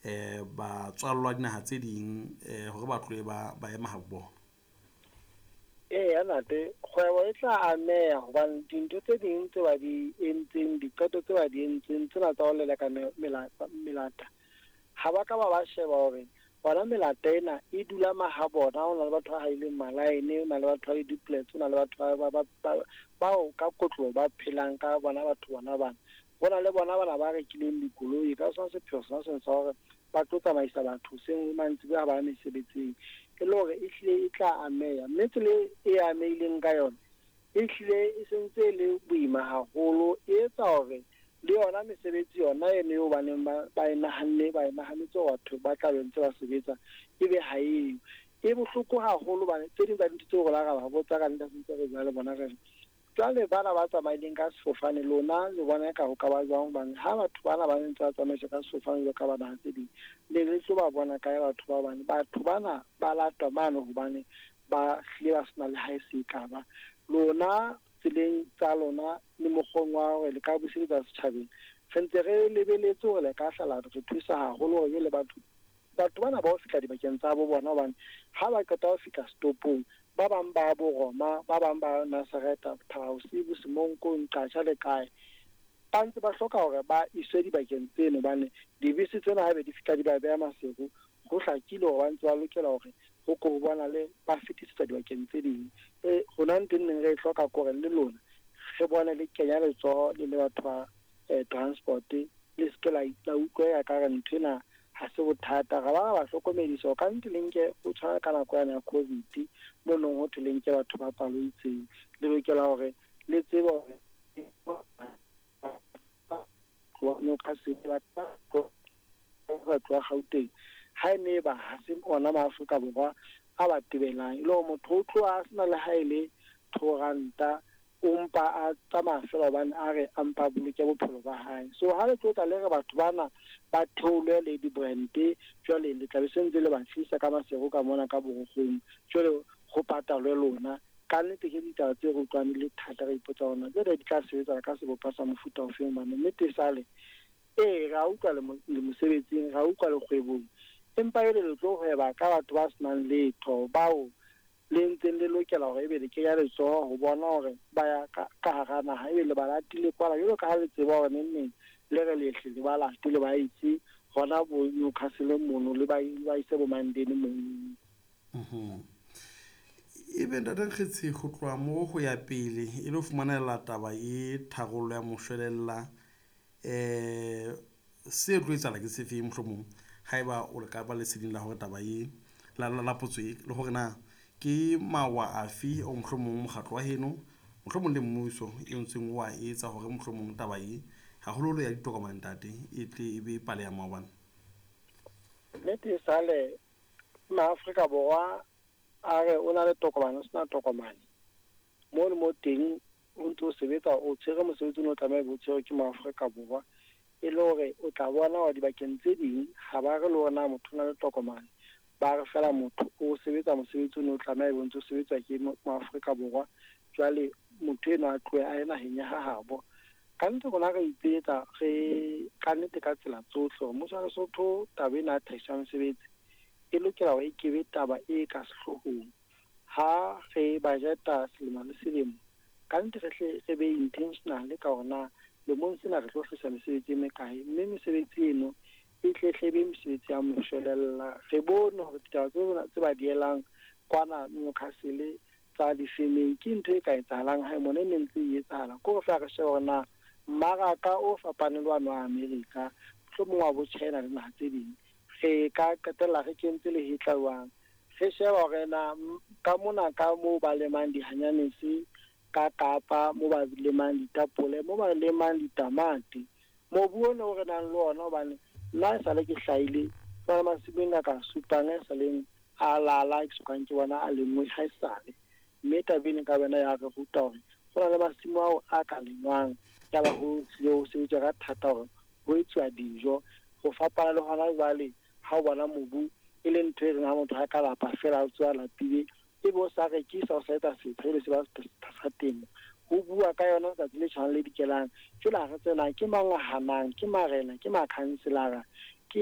Batswallwa dinaha tse ding hore ba tlohe ba ema ha bona. Eya ntate, kgwebo e tla ameha hobane dintho tse ding tse ba di entseng, diqeto tse ba di entseng tsena tsa ho leleka melata, ha ba ka ba sheba hore bona melata ena e dula mahabona. Ho na le batho ba haileng malaene, ho na le batho ba di-duplex, ho na le batho bao ka kotlo ba phelang ka bona batho bona bana. Ho na le bona bana ba rekileng dikoloi ka sona sepheo sona sena sa hore ba tlo tsamaisa batho hoseng mantsiboya ha ba ya mesebetsing. E le hore e hlile e tla ameha, mme tsela e amehileng ka yona e hlile e sentse e le boima haholo. E etsa hore le yona mesebetsi yona eno eo baneng ba e nahanne, ba e nahanetse hore batho ba tla be ntse ba sebetsa, ebe ha eo. E bohloko haholo hobane tse ding tsa dintho tseo rona ra ba botsa ka nnete, ntse re bua le bona re re jwale bana ba tsamaileng ka sefofane lona le bona eka ho ka ba jwang, hobane ha batho bana ba ntse ba tsamaiswa ka sefofane jwalo ka ba naha tse ding, le le tlo ba bona kae batho ba bane? Batho bana ba latwa mane hobane ba hlile ba sena le ha e se e ka ba. Lona tseleng tsa lona le mokgweng wa hore le ka buseletsa setjhabeng, re ntse re lebeletse hore le ka hlala re thusa haholo hore le batho bana ba ho fihla dibakeng tsa bo bona, hobane ha ba qeta ho fihla stopong, ba bang ba bo Roma, ba bang ba Nazareta, Thabausibu, Semonkong, Qasha le kae, ba ntse ba hloka hore ba iswe dibakeng tseno, hobane dibese tsena haebe di fihla di ba beha Maseru, ho hlakile hore ba ntse ba lokela hore ho ko bona le ba fetisetsa dibakeng tse ding. Rona ntho e neng re e hloka ke hore le lona re bone le kenya letsoho le le batho ba transport, le se ke la utlwa ka re ntho ena ha se bothata. Ra ba ra ba hlokomedisa hore ka nnete le nke ho tshwana ka nako yane ya COVID, mo nong ho thwe le nke batho ba palo e itseng, le lokela hore le tsebe hore ba tloha Gauteng, ha e ne ba ha se ona maAfrika Borwa a ba tebelang, e le hore motho o tloha a sena le ha e le 2 ranta, o mpa a tsamaya fela hobane a re a mpa a boloke bophelo ba hae. So ha le tlo tla le re batho bana ba theolwe le di-brand, jwale le tla be se ntse le ba tlisa ka Maseru ka mona ka borokgong, jwale ho patalwe lona. Ka nnete ke ditaba tse re utlwang di le thata, re ipotsa hore na jwale di tla sebetsa ka sebopeho sa mofuta ofeng, hobane nnete esale ee ra utlwa le mosebetsing, ra utlwa le kgwebong, empa ele le tlo hweba ka batho ba senang letho, bao le ntseng le lokela hore ebe le kenya letsoho ho bona hore ba ya ka hara naha, ebe le ba latile kwala jwalo ka ha le tseba hore neng neng le re lehle le ba late le ba itse hona bo Newcastle mono, le ba ise bo Mandeni mono. Ebe ntate Nkgetshe, ho tloha moo ho ya pele e le ho fumanela taba e tharollo ya moshwelella, se tlo etsahala ke sefeng mohlomong haeba o le ka ba leseding la hore taba e la potso e le hore na ke mawa afe o mohlomong mokgatlo wa heno mohlomong le mmuso e ntseng wa etsa hore mohlomong taba e haholoholo ya ditokomane ntate e tle e be pale ya maobane? Nnete sale maAfrika Borwa a re o na le tokomane, o sena tokomane, mo le mo teng o ntso sebetsa, o tshwere mosebetsi o tlameha o tshwerwe ke maAfrika Borwa, e le hore o tla bona hore dibakeng tse ding ha ba re le hore na motho o na le tokomane, ba re fela motho o sebetsa mosebetsi o tlameha o ntso sebetsa ke maAfrika Borwa, jwale motho enwa a tlohe a ye naheng ya hahabo. Ka nnete rona re ipetsa re ka nnete ka tsela tsohle hore mmuso wa Lesotho taba ena ya tlhahiso ya mesebetsi e lokela hore e kebe taba e ka sehloohong. Ha re budgeta selemo le selemo, ka nnete re hle re be intentional ka hore na lemong sena re tlo hlahisa mesebetsi e mekae, mme mesebetsi eno e tle hle be mesebetsi ya moshwelella. Re bone hore ditaba tse ba dielang kwana Newcastle tsa difemeng ke ntho e ka etsahalang hae mona, e ne ntse e etsahala. Ke hore feela re shebe hore na mmaraka o fapaneng le wane wa Amerika, mohlomong wa bo China le naha tse ding, re ka qetella re kentse lehetla jwang. Re sheba hore na ka mona ka moo ba lemang dihanyanese ka Kapa, moo ba lemang ditapole, moo ba lemang ditamati, mobu ono o re nang le ona, hobane nna esale ke hlahile jwale masimong a ka supang a saleng a lala, ke sokang ke bona a lengwe ha esale. Mme taba ena ka wena ya re ruta hore ho na le masimo ao a ka lengwang, ya ba ho tlile ho sebetswa ka thata hore ho etsuwa dijo. Ho fapana le hona jwale ha o bona mobu e le ntho e reng ha motho ha ka lapa fela a tswa lapile, ebe o sa rekisa, o sa etsa setho, ebe se ba sa temo. Ho bua ka yona letsatsi le tshwanang le dikelang. Jwale ha re tsena ke mang a hanang, ke marena, ke makhanselara.